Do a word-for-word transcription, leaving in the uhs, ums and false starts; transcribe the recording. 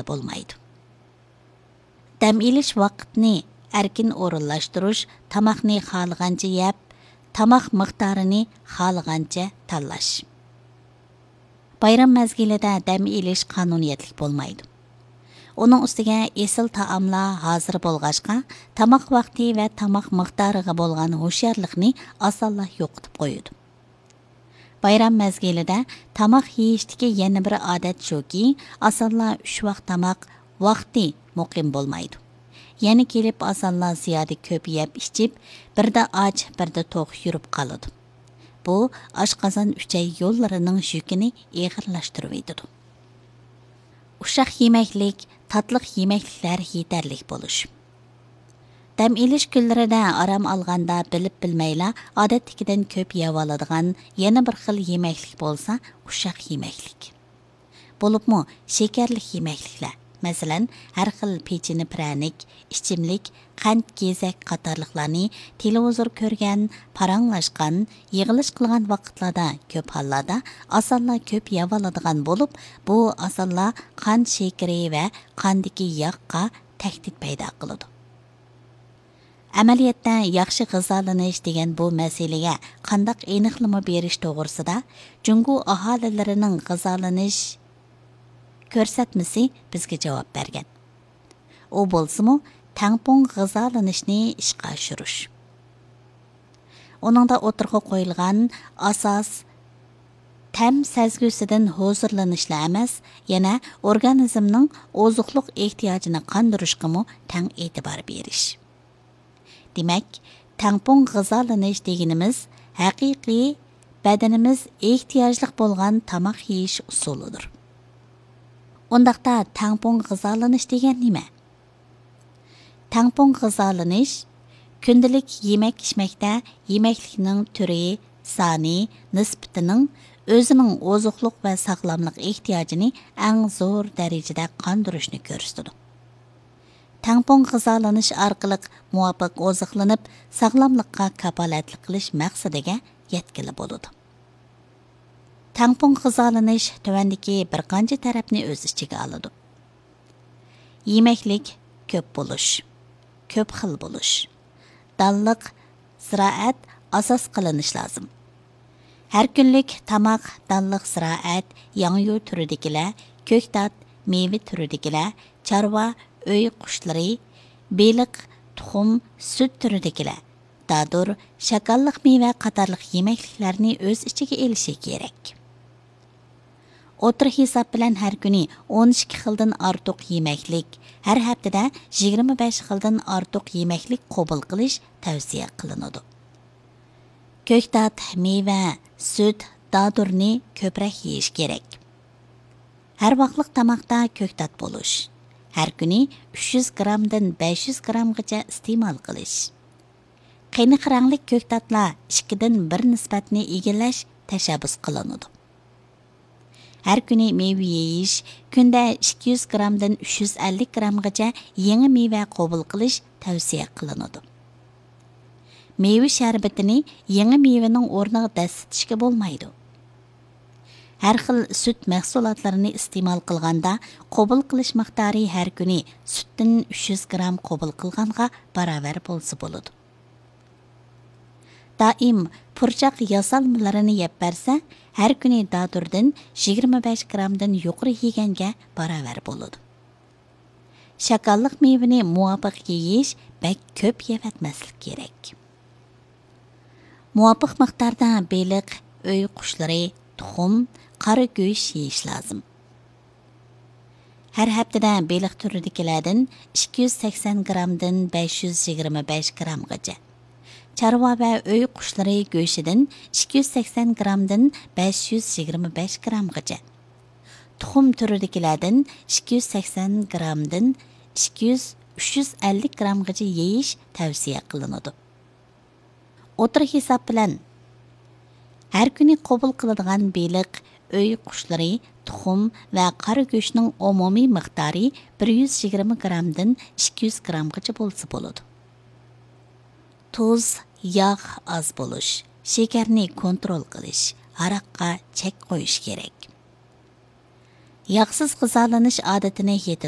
بولمايدۇ. دەم ئېلىش ۋاقتىنى ئەركىن ئورۇنلاشتۇرۇش، تاماقنى خالىغانچە يەپ، تاماق مىقدارىنى خالىغانچە تاللاش. بايرام مەزگىلىدە دەم ئېلىش قانۇنىيەتلىك بولمايدۇ. ئۇنىڭ ئۈستىگە ئېسىل تائاملار ھازىر بولغاچقا، تاماق ۋاقتى ۋە تاماق مىقدارىغا بولغان ھوشيارلىقنى ئاسانلا يوقىتىپ قويىدۇ. بايرام مەزگىلىدە تاماق يېيىشتىكى يەنە بىر ئادەت شۇكى، ئاسانلا ئۈچ ۋاق تاماق ۋاقتى مۇقىم بولمايدۇ. يەنە كېلىپ ئاسانلا زىيادە كۆپ يەپ ئىچىپ، بىردە ئاچ، بىردە توق يۈرۈپ قالىدۇ. بۇ ئاشقازان ئۈچەي يوللىرىنىڭ يۈكىنى ئېغىرلاشتۇرۇۋېتىدۇ. ئۇششاق يېمەكلىك، تاتلىق يېمەكلىكلەر يېتەرلىك بولۇش. دەم ئېلىش كۈنلىرىدە ئارام ئالغاندا بىلىپ بىلمەيلا ئادەتتىكىدىن كۆپ يەۋالىدىغان يەنە بىر خىل يېمەكلىك بولسا ئۇششاق يېمەكلىك. بولۇپمۇ شېكەرلىك يېمەكلىكلەر، مەسىلەن، ھەر خىل پېچىنە پىرەنىك، ئىچىملىك، قەنت، گېزەك قاتارلىقلارنى تېلېۋىزور كۆرگەن، پاراڭلاشقان، يىغىلىش قىلغان ۋاقىتلاردا كۆپ ھاللاردا ئاسانلا كۆپ يەۋالىدىغان بولۇپ، بۇ ئاسانلا قان شېكىرى ۋە قاندىكى ياغقا تەھدىت پەيدا قىلىدۇ. ئەمەلىيەتتە، ياخشى غىزالىنىش دېگەن بۇ مەسىلىگە قانداق ئېنىقلىما بېرىش توغرىسىدا جۇڭگو ئاھالىلىرىنىڭ غىزالىنىش كۆرسەتمىسى بىزگە جاۋاب بەرگەن. ئۇ بولسىمۇ، تەڭپۇڭ غىزالىنىشنى ئىشقا ئاشۇرۇش. ئۇنىڭدا ئوتتۇرىغا قويۇلغان ئاساس تەم سەزگۈسىدىن ھۇزۇرلىنىشلا ئەمەس، يەنە ئورگانىزمنىڭ ئوزۇقلۇق ئېھتىياجىنى قاندۇرۇشقىمۇ تەڭ ئېتىبار بېرىش. دېمەك، تەڭپۇڭ غىزالىنىش دېگىنىمىز ھەقىقىي بەدىنىمىز ئېھتىياجلىق بولغان تاماق يېيىش ئۇسۇلىدۇر. ئۇنداقتا تەڭپۇڭ غىزالىنىش دېگەن نېمە؟ تەڭپۇڭ غىزالىنىش كۈندىلىك يېمەك-ئىچمەكتە يېمەكلىكنىڭ تۈرى، سانى، نىسبىتىنىڭ ئۆزىنىڭ ئوزۇقلۇق ۋە ساغلاملىق ئېھتىياجىنى ئەڭ زور دەرىجىدە قاندۇرۇشنى كۆرسىتىدۇ. تەڭپۇڭ غىزالىنىش ئارقىلىق مۇۋاپىق ئوزۇقلىنىپ، ساغلاملىققا كاپالەتلىك قىلىش مەقسىتىگە يەتكىلى بولىدۇ. تەڭپۇڭ غىزالىنىش تۆۋەندىكى بىر قانچە تەرەپنى ئۆز ئىچىگە ئالىدۇ. يېمەكلىك كۆپ بولۇش، كۆپ خىل بولۇش، دانلىق زىرائەت ئاساس قىلىنىش لازىم. ھەر كۈنلۈك تاماق، دانلىق زىرائەت، ياڭيۇ تۈرىدىكىلەر، كۆكتات، مېۋە تۈرىدىكىلەر، چارۋا، ئۆي قۇشلىرى، بېلىق، تۇخۇم، سۈت تۈرىدىكىلەر، دادۇر، شاكاللىق مېۋە قاتارلىق يېمەكلىكلەرنى ئۆز ئىچىگە ئېلىشى كېرەك. ئوتتۇرا ھېساب بىلەن ھەر كۈنى ئون ئىككى خىلدىن ئارتۇق يېمەكلىك، ھەر ھەپتىدە يىگىرمە بەش خىلدىن ئارتۇق يېمەكلىك قوبۇل قىلىش تەۋسىيە قىلىنىدۇ. كۆكتات، مېۋە، سۈت، دادۇرنى كۆپرەك يېيىش كېرەك. ھەر ۋاقلىق تاماقتا كۆكتات بولۇش. ھەر كۈنى ئۈچ يۈز گرامدىن بەش يۈز گرامغىچە ئىستېمال قىلىش. قېنىق رەڭلىك كۆكتاتلار ئىككىدىن بىر نىسبەتنى ئىگىلەش تەشەببۇس قىلىنىدۇ. ھەر كۈنى مېۋە يېيىش، كۈندە ئىككى يۈز گرامدىن ئۈچ يۈز ئەللىك گرامغىچە يېڭى مېۋە قوبۇل قىلىش تەۋسىيە قىلىنىدۇ. مېۋە شەربىتىنى يېڭى مېۋىنىڭ ئورنىغا دەسسىتىشكە بولمايدۇ. ھەر خىل سۈت مەھسۇلاتلىرىنى ئىستېمال قىلغاندا، قوبۇل قىلىش مىقدارى ھەر كۈنى سۈتتىن ئۈچ يۈز گرام قوبۇل قىلغانغا باراۋەر بولسا بولىدۇ. دائىم پۇرچاق ياسالمىلىرىنى يەپ بەرسە، ھەر كۈنى دادۇردىن يىگىرمە بەش گرامدىن يۇقىرى يېگەنگە باراۋەر بولىدۇ. شاكاللىق مېۋىنى مۇۋاپىق يېيىش، بەك كۆپ يەۋەتمەسلىك كېرەك. مۇۋاپىق مىقداردا بېلىق، ئۆي قۇشلىرى، تۇخۇم، قارا گۆش يېيىش لازىم. ھەر ھەپتىدە بېلىق تۈرىدىكىلەردىن ئىككى يۈز سەكسەن گرامدىن بەش يۈز يىگىرمە بەش گرامغىچە، چارۋا ۋە ئۆي قۇشلىرى گۆشىدىن ئىككى يۈز سەكسەن گرامدىن بەش يۈز يىگىرمە بەش گرامغىچە، تۇخۇم تۈرىدىكىلەردىن ئىككى يۈز سەكسەن گرامدىن ئىككى يۈز، ئۈچ يۈز ئەللىك گرامغىچە يېيىش تەۋسىيە قىلىنىدۇ. ئوتتۇرا ھېساب بىلەن، ھەر كۈنى قوبۇل قىلىدىغان بېلىق، ئۆي قۇشلىرى، تۇخۇم ۋە قارا گۆشنىڭ ئومۇمىي مىقدارى بىر يۈز يىگىرمە گرامدىن ئىككى يۈز گرامغىچە بولسا بولىدۇ. تۇز، ياغ ئاز بولۇش، شېكەرنى كونترول قىلىش، ھاراققا چەك قويۇش كېرەك. ياغسىز غىزالىنىش ئادىتىنى يېتىل-،